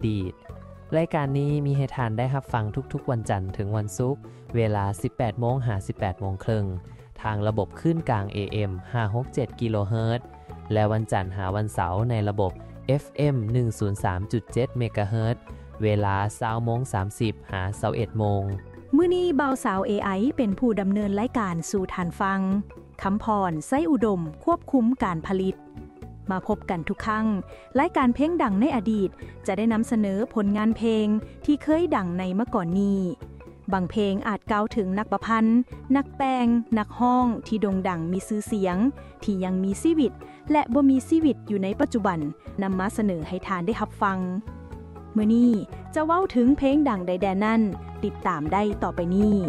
ດີດ. ລາຍການນີ້ມີໃຫ້ທ່ານໄດ້ຮັບຟັງທຸກໆວັນຈັນເຖິງວັນສຸກ, ເວລາສິບແປດໂມງຫາສິບແປດໂມງເຄິ່ງ ທາງລະບົບຄື້ນກາງ ເອເອັມ ຫ້າຫົກເຈັດກິໂລເຮີດ ແລະ ວັນຈັນຫາວັນເສົາໃນລະບົບ ເອັຟເອັມ ໜຶ່ງສູນສາມຈຸດເຈັດເມກາເຮີດ ເວລາຊາວໂມງສາມສິບຫາຊາວເອັດໂມງ. ມື້ນີ້ບ່າວສາວ ເອໄອ ເປັນຜູ້ດຳເນີນລາຍການສູ່ທ່ານຟັງ. ຄຳພອນ ໄຊອຸດົມ ຄວບຄຸມການຜະລິດ. ມາພົບກັນທຸກຄັ້ງ, ລາຍການເພງດັງໃນອະດີດ ຈະໄດ້ນຳສະເໜີຜົນງານເພງທີ່ເຄີຍດັງໃນມາກ່ອນນີ້. ບາງເພງອາດກ່າວເຖິງນັກປະພັນ, ນັກແຕ່ງ, ນັກຮ້ອງທີ່ໂດ່ງດັງມີຊື່ສຽງ, ທີ່ຍັງມີຊີວິດ ແລະ ບໍ່ມີຊີວິດຢູ່ໃນປັດຈຸບັນ ນຳມາສະເໜີໃຫ້ທ່ານໄດ້ຮັບຟັງ. ມື້ນີ້ຈະເວົ້າເຖິງເພງດັງໃດແດ່ນັ້ນ, ຕິດຕາມໄດ້ຕໍ່ໄປນີ້.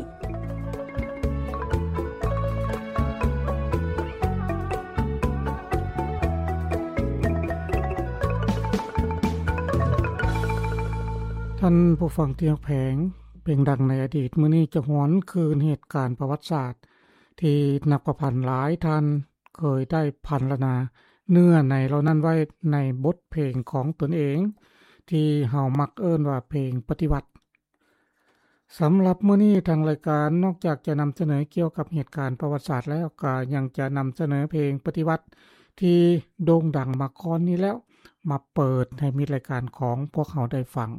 ທ່ານຜູ້ຟັງທີ່ຮັກແພງ, ເພງດັງໃນອະດີດມື້ນີ້ຈະຫວນຄືນເຫດການປະຫວັດສາດ ທີ່ນັກປະພັນຫຼາຍທ່ານ ເຄີຍໄດ້ພັນລະນາເນື້ອໃນເຫຼົ່ານັ້ນໄວ້ໃນບົດເພງຂອງຕົນເອງ ທີ່ເຮົາມັກເອີ້ນວ່າເພງປະຕິວັດ. ສຳລັບມື້ນີ້ທາງລາຍການນອກຈາກຈະນຳສະເໜີກ່ຽວກັບເຫດການປະຫວັດສາດແລ້ວ, ກໍຍັງຈະນຳສະເໜີເພງປະຕິວັດທີ່ໂດ່ງດັງມາກ່ອນນີ້ແລ້ວ ມາເປີດໃຫ້ມິດລາຍການຂອງພວກເຮົາໄດ້ຟັງ.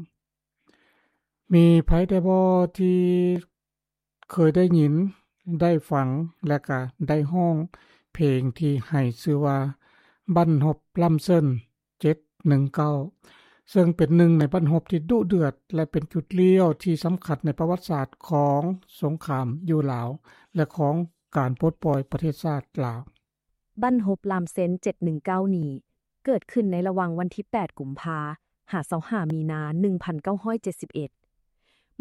ມີໃຜແດ່ບໍ່ທີ່ເຄີຍໄດ້ຍິນ, ໄດ້ຟັງ ແລະ ກະໄດ້ຮ້ອງເພງທີ່ໃຫ້ຊື່ວ່າບັ້ນຮົບລຳເຊີນເຈັດໜຶ່ງເກົ້າ ເຊິ່ງເປັນໜຶ່ງໃນບັ້ນຮົບທີ່ດຸເດືອດ ແລະ ເປັນຈຸດລ້ຽວທີ່ສຳຄັນໃນປະຫວັດສາດຂອງສົງຄາມຢູ່ລາວ ແລະ ຂອງການປົດປ່ອຍປະເທດຊາດລາວ. ບັ້ນຮົບລຳເຊີນເຈັດໜຶ່ງເກົ້ານີ້ ເກີດຂຶ້ນໃນລະຫວ່າງວັນທີແປດກຸມພາ ຫາຊາວຫ້າມີນາ ໜຶ່ງພັນເກົ້າຮ້ອຍເຈັດສິບເອັດ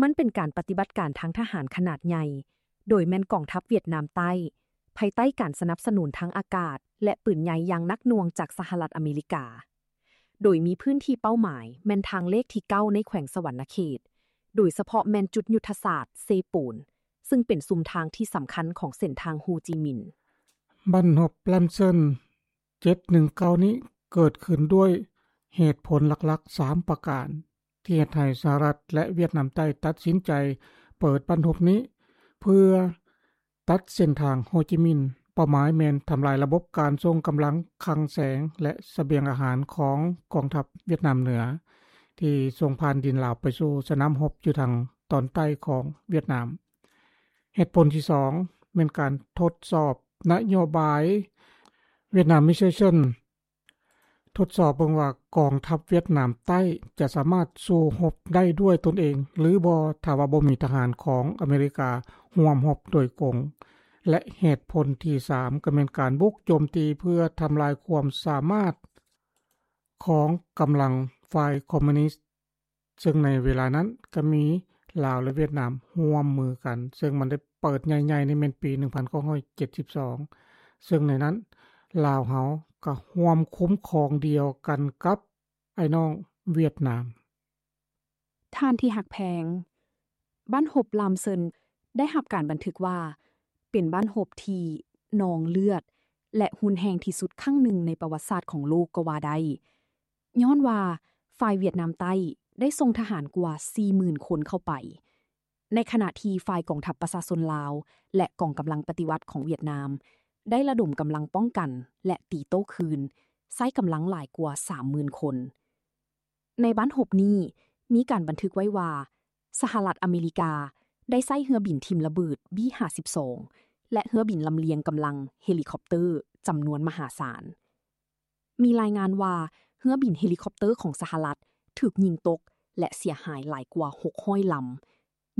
ມັນເປັນການປະຕິບັດການທາງທະຫານຂະໜາດໃຫຍ່ ໂດຍແມ່ນກອງທັບຫວຽດນາມໃຕ້ ພາຍໃຕ້ການສະໜັບສະໜູນທາງອາກາດ ແລະ ປືນໃຫຍ່ຢ່າງໜັກໜ່ວງຈາກສະຫະລັດອາເມລິກາ, ໂດຍມີພື້ນທີ່ເປົ້າໝາຍແມ່ນທາງເລກທີເກົ້າໃນແຂວງສະຫວັນນະເຂດ, ໂດຍສະເພາະແມ່ນຈຸດຍຸດທະສາດເຊໂປນ ຊຶ່ງເປັນຊຸມທາງທີ່ສຳຄັນຂອງເສັ້ນທາງໂຮຈິມິນ. ບັ້ນຮົບລຳເຊີນ ເຈັດໜຶ່ງເກົ້ານີ້ເກີດຂຶ້ນດ້ວຍເຫດຜົນຫຼັກໆສາມປະການ ທີ່ເຮັດໃຫ້ສະຫະລັດ ແລະ ຫວຽດນາມໃຕ້ຕັດສິນໃຈເປີດບັ້ນຮົບນີ້ ເພື່ອຕັດເສັ້ນທາງໂຮຈິມິນ. ເປົ້າໝາຍແມ່ນທຳລາຍລະບົບການສົ່ງກຳລັງຄັງແສງ ແລະ ສະບຽງອາຫານຂອງກອງທັບຫວຽດນາມເໜືອ ທີ່ສົ່ງຜ່ານດິນລາວໄປສູ່ສະໜາມຮົບຢູ່ທາງຕອນໃຕ້ຂອງຫວຽດນາມ. ເຫດຜົນທີສອງແມ່ນການທົດສອບນະໂຍບາຍ Vietnamization ທົດສອບເບິ່ງວ່າກອງທັບຫວຽດນາມໃຕ້ຈະສາມາດສູ້ຮົບໄດ້ດ້ວຍຕົນເອງ ຫຼື ບໍ່ ຖ້າວ່າບໍ່ມີທະຫານຂອງອາເມລິກາຮ່ວມຮົບໂດຍກົງ ແລະ ເຫດຜົນທີສາມກໍແມ່ນການບຸກໂຈມຕີເພື່ອທຳລາຍຄວາມສາມາດຂອງກຳລັງຝ່າຍຄອມມູນິດ ເຊິ່ງໃນເວລານັ້ນກໍມີລາວ ແລະ ຫວຽດນາມຮ່ວມມືກັນ, ເຊິ່ງມັນໄດ້ເປີດໃຫຍ່ໆນີ້ແມ່ນປີໜຶ່ງພັນເກົ້າຮ້ອຍເຈັດສິບສອງ ເຊິ່ງໃນນັ້ນລາວເຮົາກໍຮ່ວມຄຸ້ມຄອງດຽວກັນກັບອ້າຍນ້ອງຫວຽດນາມ. ທ່ານທີ່ຮັກແພງ, ບັ້ນຮົບລາມເຊີນໄດ້ຮັບການບັນທຶກວ່າ ເປັນບັ້ນຮົບທີ່ນອງເລືອດ ແລະ ຮຸນແຮງທີ່ສຸດຄັ້ງໜຶ່ງໃນປະຫວັດສາດຂອງໂລກກໍວ່າໄດ້. ຍ້ອນວ່າຝ່າຍຫວຽດນາມໃຕ້ໄດ້ສົ່ງທະຫານກວ່າສີ່ໝື່ນຄົນເຂົ້າໄປ, ໃນຂະນະທີ່ຝ່າຍກອງທັບປະຊາຊົນລາວ ແລະ ກອງກຳລັງປະຕິວັດຂອງຫວຽດນາມ ໄດ້ລະດົມກຳລັງປ້ອງກັນ ແລະ ຕີໂຕ້ຄືນ ໃຊ້ກຳລັງຫຼາຍກວ່າສາມໝື່ນຄົນ. ໃນບັ້ນຮົບນີ້ ມີການບັນທຶກໄວ້ວ່າ ສະຫະລັດອາເມລິກາໄດ້ໃຊ້ເຮືອບິນຖິ້ມລະເບີດ ບີຫ້າສິບສອງ ແລະ ເຮືອບິນລຳລຽງກຳລັງເຮລິຄອບເຕີຈຳນວນມະຫາສານ. ມີລາຍງານວ່າເຮືອບິນເຮລິຄອບເຕີຂອງສະຫະລັດຖືກຍິງຕົກ ແລະ ເສຍຫາຍຫຼາຍກວ່າຫົກຮ້ອຍລຳ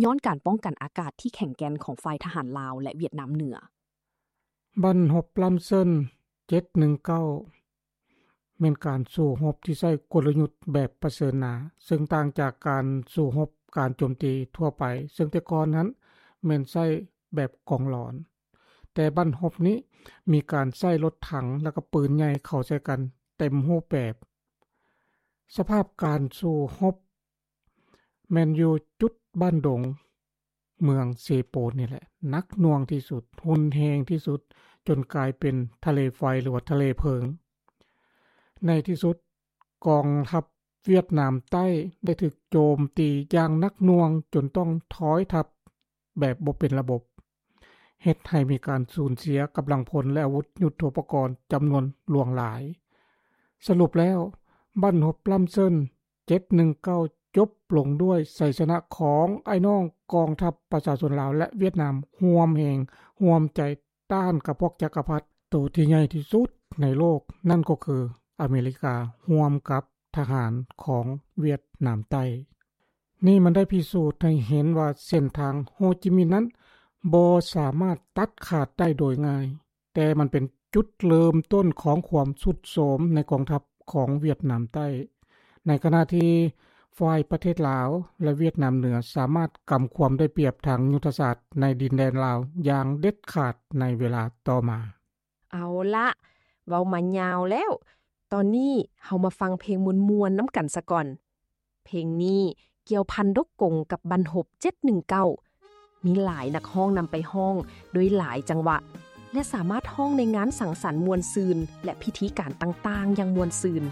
ຍ້ອນການປ້ອງກັນອາກາດທີ່ແຂງແກ່ນຂອງຝ່າຍທະຫານລາວ ແລະ ຫວຽດນາມເໜືອ. ບັ້ນຮົບລາມເຊີນເຈັດໜຶ່ງເກົ້າ ແມ່ນການສູ້ຮົບທີ່ໃຊ້ກົນລະຍຸດແບບປະເຊີນໜ້າ, ເຊິ່ງຕ່າງຈາກການສູ້ຮົບການໂຈມຕີທົ່ວໄປ, ເຊິ່ງແຕ່ກ່ອນນັ້ນແມ່ນໃຊ້ແບບກອງຫຼອນ. ແຕ່ບັ້ນຮົບນີ້ມີການໃຊ້ລົດຖັງ ແລະ ກໍປືນໃຫຍ່ເຂົ້າໃສ່ກັນເຕັມຮູບແບບ. ສະພາບການສູ້ຮົບແມ່ນຢູ່ຈຸດບ້ານດົງ ເມືອງເຊໂປນນີ້ແຫຼະ ໜັກໜ່ວງທີ່ສຸດ, ຮຸນແຮງທີ່ສຸດ, ຈົນກາຍເປັນທະເລໄຟ ຫຼືວ່າທະເລເພີງ. ໃນທີ່ສຸດ ກອງທັບ ຫວຽດນາມໃຕ້ໄດ້ຖືກໂຈມຕີຢ່າງໜັກໜ່ວງຈົນຕ້ອງຖອຍທັບແບບບໍ່ເປັນລະບົບ, ເຮັດໃຫ້ມີການສູນເສຍກຳລັງພົນ ແລະ ອາວຸດຍຸດໂທປະກອນຈຳນວນຫຼວງຫຼາຍ. ສະຫຼຸບແລ້ວ, ບັ້ນຮົບລຳເຊີນ ເຈັດໜຶ່ງເກົ້າ ຈົບລົງດ້ວຍໄຊຊະນະຂອງອ້າຍນ້ອງກອງທັບປະຊາຊົນລາວ ແລະ ຫວຽດນາມຮ່ວມແຮງຮ່ວມໃຈຕ້ານກັບພວກຈັກກະພັດໂຕທີ່ໃຫຍ່ທີ່ສຸດໃນໂລກ, ນັ້ນກໍຄືອາເມລິກາ ຮ່ວມກັບທະຫານຂອງຫວຽດນາມໃຕ້. ນີ້ມັນໄດ້ພິສູດໃຫ້ເຫັນວ່າເສັ້ນທາງໂຮຈິມິນນັ້ນບໍ່ສາມາດຕັດຂາດໄດ້ໂດຍງ່າຍ. ແຕ່ມັນເປັນຈຸດເລີ່ມຕົ້ນຂອງຄວາມຊຸດໂຊມໃນກອງທັບຂອງຫວຽດນາມໃຕ້, ໃນຂະນະທີ່ຝ່າຍປະເທດລາວ ແລະ ຫວຽດນາມເໜືອສາມາດກຳຄວາມໄດ້ປຽບທາງຍຸດທະສາດໃນດິນແດນລາວຢ່າງເດັດຂາດໃນເວລາຕໍ່ມາ. ເອົາລະ, ເວົ້າມາຍາວແລ້ວ, ຕອນນີ້ເຮົາມາຟັງເພງມ່ວນໆນຳກັນສາກ່ອນ. ເພງນີ້ກ່ຽວພັນດົກກົງກັບບັ້ນຮົບເຈັດໜຶ່ງເກົ້າ, ມີຫຼາຍນັກຮ້ອງນຳໄປຮ້ອງໂດຍຫຼາຍຈັງຫວະ ແລະ ສາມາດຮ້ອງໃນງານສັງສັນມ່ວນຊື່ນ ແລະ ພິທີການຕ່າງໆຢ່າງມ່ວນຊື່ນ.